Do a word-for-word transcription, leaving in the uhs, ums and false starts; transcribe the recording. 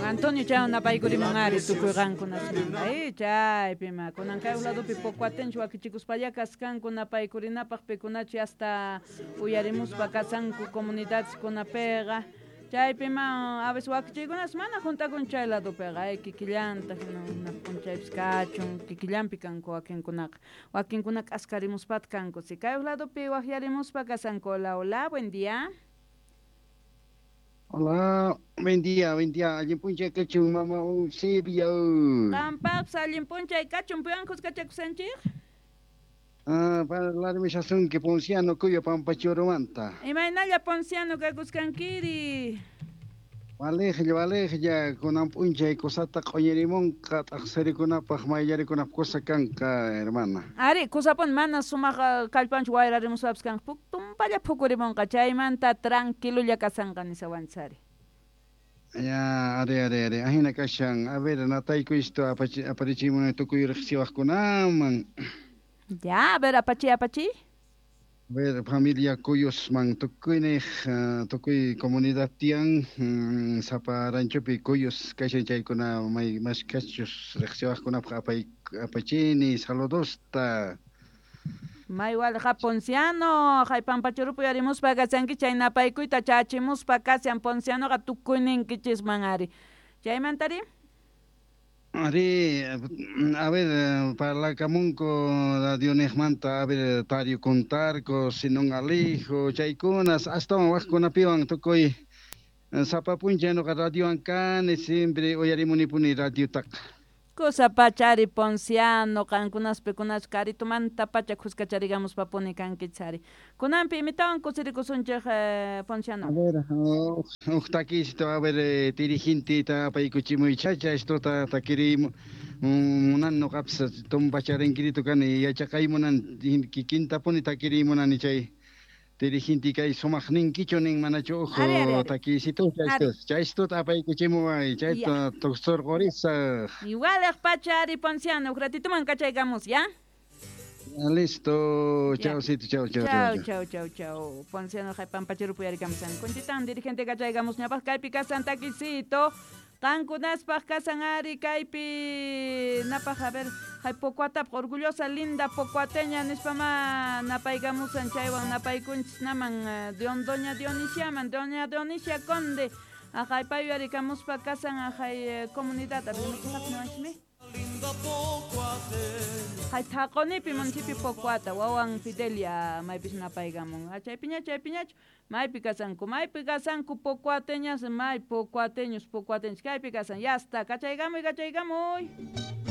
Antonio chaywan napaykurimun ari tukuy qankunasmanta eh chaypi ma kunan kay ladopi pocuatenchu wakichikuspalla kaskanku napaykurinapaq pikunachu hasta uyarimuspa kasanku comunidadeskunapiqa chaypi ma a veces wakichiykunas mana juntakun chay ladopiqa ay kikillantaq na p'unchaypis kachun kikillanpi kanku wakinkunaqa wakinkuna k'askarimuspata kanku si kay ladopi waqyarimuspa kasanku. Hola, hola, buen día. Hola, buen día, buen día. Allin p'unchay kachun, mama Eusebio. Qampaqpas allin p'unchay kachun, piwan kuskachakusanchik? Ah, parlarmishasunki Ponciano Cuyo Pampachurumanta. Imaynalla Ponciano kakusqankiri? Walejlla, walejlla, kunan p'unchay kusata q'uñirimunqa t'aqsirikunapaq mayllarikunapaq kusa kanqa, hermana. Ari, kusapuni mana sumaq kallpanchu wayrarimuspapas kanqa, tumpalla phukurimunqa, chaymanta tranquilolla kasanqa nisawanchis ari. Ya, ari, ari, ari, ahina kashan. A ver, nataykuy apachi aparichimunay tukuy riqsiwaqkunaman. Ya, a ver, apachi, apachi. A ver, familia Cuyosman tukuyniq tukuy comunidad tiyan sapa ranchopi Cuyos kashan chaykuna may mashkachus riqsiwaqkunapaq apay apachini saludosta. May walqa Ponciano, hay Pampachurupi uyarimuspa kasanki chay napaykuyta chachimuspa kashan Poncianoqa tukuyninkichisman ari. Chaymantari? Ari, a ver, parlakamunku radioniqmanta, a ver, Tario Contarco, Sinón Alijo, chaykunas, astawan waqkunapiwan tukuy sapa p'unchay nuqa radiowan kani, siempre uyarimunipuni radiotaqa. Kusa pachari Ponciano, qankunas pikunas karitumanta pacha kuskacharigamuspapuni kankichis ari. Kunanpi imitawan kusirikusunchik eh, Ponciano. A ver, huk takisito, a ver, dirigentita apaykuchimuy chacha, estota takirimu munan nuqapis tumpacharinquirito kani yachaqaymunan kikintapuni takirimunani chay dirigente kay sumaq ninkichu nin manachu uj Ari, ari, ari. takisito Ari. chaystuta apaykuchimuway chayta tuqsurqurisaq. Igual pachari Ponciano, un ratito kachaykamus, ¿ya? Listo, Ya. chaucito, chau, chau, Chau, chau. chau, chau, chau. Ponciano hay Pampachurupi uyarikamusan. Kunchitan dirigente kachaykamus ñapaq kaypi kasan takisito. Qankunaspaq kasan ari kaypi napaq a ver hay pocuatapaq orgullosa linda pocuateña nispama napaykamusan chaywan napaykunchis naman eh, Dion doña Dionisiaman doña Dionisia Conde ajay pay uyarikamuspa kasan ajay eh, comunidad a ver hay thaqonipi municipio Pocoata wawan Fidelia maypis napaykamun chaypiña chaypiñachu maypi kasanku maypi kasanku pocuateñas may pocuateños pocuateños kaypi kasan ya está kachaykamuy kachaykamuy.